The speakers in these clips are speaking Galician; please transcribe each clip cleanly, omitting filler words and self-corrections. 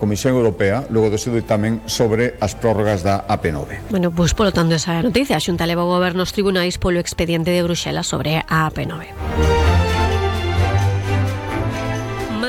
Comisión Europea logo do seu ditamen sobre as prórrogas da AP9. Bueno, pois polo tanto esa noticia, a Xunta leva o goberno aos tribunais polo expediente de Bruxelas sobre a AP9.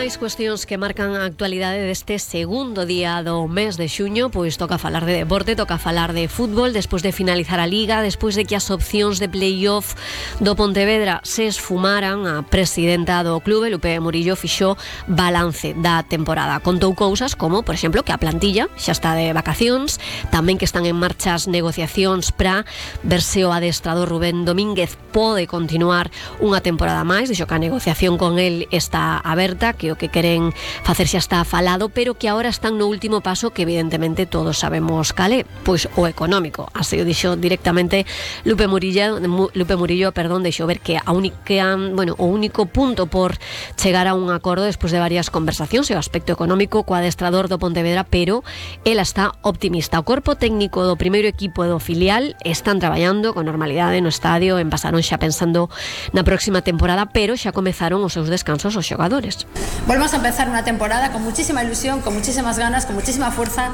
Máis cuestións que marcan a actualidade deste segundo día do mes de xuño, pois toca falar de deporte, toca falar de fútbol, despois de finalizar a Liga, despois de que as opcións de playoff do Pontevedra se esfumaran. A presidenta do clube, Lupe Murillo, fixo balance da temporada. Contou cousas como, por exemplo, que a plantilla xa está de vacacións, tamén que están en marcha as negociacións para ver se o adestrador Rubén Domínguez pode continuar unha temporada máis. Dixo que a negociación con el está aberta, que o que queren facer xa está falado, pero que agora están no último paso, que evidentemente todos sabemos cal é, pois o económico. Así o dixo directamente Lupe Murillo, deixou ver que o único punto por chegar a un acordo despois de varias conversacións é o aspecto económico co adestrador do Pontevedra, pero ela está optimista. O corpo técnico do primeiro equipo do filial están traballando con normalidade no estadio, pasaron xa pensando na próxima temporada, pero xa comezaron os seus descansos os xogadores. Volvemos a empezar una temporada con muchísima ilusión, con muchísimas ganas, con muchísima fuerza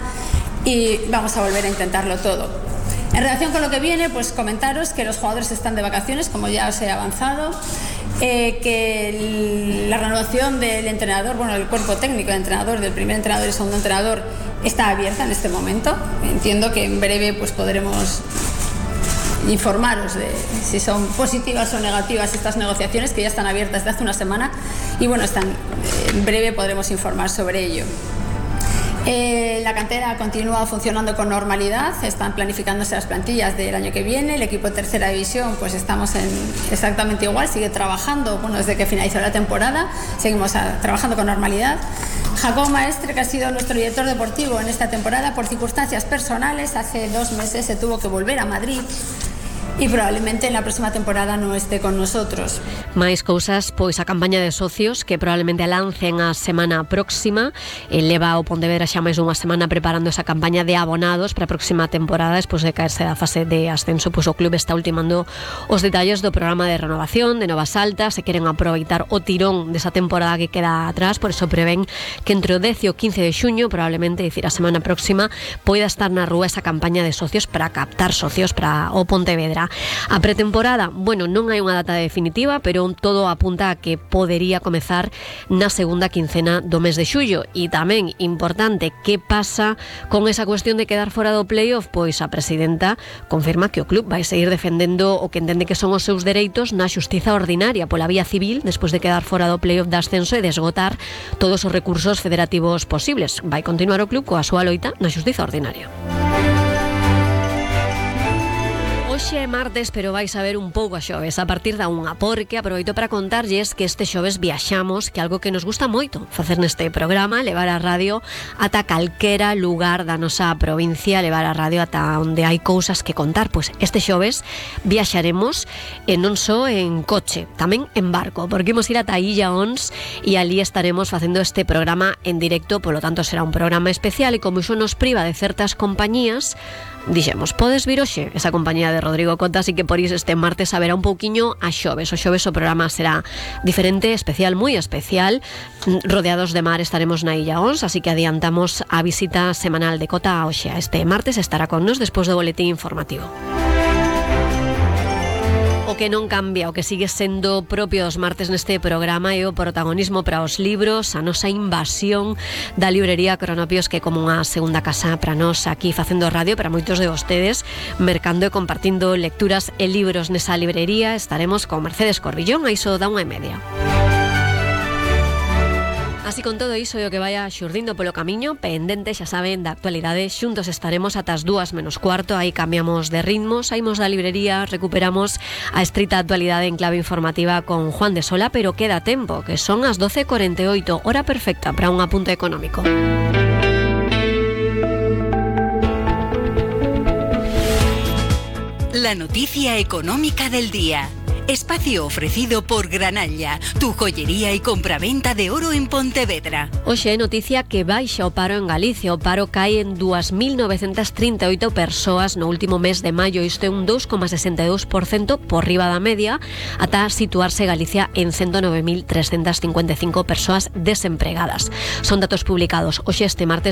y vamos a volver a intentarlo todo. En relación con lo que viene, pues comentaros que los jugadores están de vacaciones, como ya os he avanzado, que la renovación del entrenador, del cuerpo técnico del entrenador, del primer entrenador y segundo entrenador, está abierta en este momento. Entiendo que en breve pues podremos informaros de si son positivas o negativas estas negociaciones, que ya están abiertas desde hace una semana y en breve podremos informar sobre ello. La cantera continúa funcionando con normalidad, están planificándose las plantillas del año que viene. El equipo de tercera división, pues estamos exactamente igual, sigue trabajando, desde que finalizó la temporada, seguimos trabajando con normalidad. Jacob Maestre, que ha sido nuestro director deportivo en esta temporada, por circunstancias personales, hace 2 meses se tuvo que volver a Madrid e probablemente en la próxima temporada non esté con nosotros. Máis cousas, pois a campaña de socios que probablemente a lancen a semana próxima. Leva o Pontevedra xa máis dunha semana preparando esa campaña de abonados para a próxima temporada. Despois de caerse da fase de ascenso, pois o clube está ultimando os detalles do programa de renovación, de novas altas. Se queren aproveitar o tirón desa temporada que queda atrás, por eso prevén que entre o 10 e o 15 de xuño, probablemente, dicir a semana próxima, poida estar na rúa esa campaña de socios para captar socios para o Pontevedra. A pretemporada, non hai unha data definitiva, pero todo apunta a que podería comezar na segunda quincena do mes de xullo. E tamén importante, que pasa con esa cuestión de quedar fora do playoff? Pois a presidenta confirma que o club vai seguir defendendo o que entende que son os seus dereitos na xustiza ordinaria pola vía civil, despois de quedar fora do playoff de ascenso e de esgotar todos os recursos federativos posibles. Vai continuar o club coa súa loita na xustiza ordinaria. Hoxe é martes, pero vais a ver un pouco a xoves a partir da 1, porque aproveito para contarlles que este xoves viaxamos, que algo que nos gusta moito facer neste programa, levar a radio ata calquera lugar da nosa provincia, levar a radio ata onde hai cousas que contar. Pois este xoves viaxaremos non só en coche, tamén en barco, porque imos ir ata Illa Ons e ali estaremos facendo este programa en directo, polo tanto será un programa especial, e como iso nos priva de certas compañías, dixemos, podes vir hoxe esa compañía de Rodrigo Cota, así que por iso este martes haberá un pouquiño a xoves. O xoves o programa será diferente, especial, moi especial. Rodeados de mar estaremos na Illa Ons, así que adiantamos a visita semanal de Cota a hoxe. Este martes estará con nos despois do boletín informativo. O que non cambia, o que sigue sendo propio dos martes neste programa é o protagonismo para os libros, a nosa invasión da librería Cronopios, que é como unha segunda casa para nós aquí facendo radio, para moitos de vostedes, mercando e compartindo lecturas e libros nesa librería. Estaremos con Mercedes Corbillón a iso da 1:30. Así con todo iso e o que vaya xurdindo polo camiño, pendente, xa saben, da actualidade, xuntos estaremos ata as 2:45, aí cambiamos de ritmo, saímos da librería, recuperamos a estrita actualidade en clave informativa con Juan de Sola, pero queda tempo, que son as 12:48, hora perfecta para un apunte económico. La noticia económica del día. Espacio ofrecido por Granalla, tu joyería y compraventa de oro en Pontevedra. Hoxe é noticia que baixa o paro en Galicia. O paro cae en 2.938 persoas no último mes de maio. Isto é un 2,62% por riba da media, ata situarse Galicia en 109.355 persoas desempregadas. Son datos publicados hoxe este martes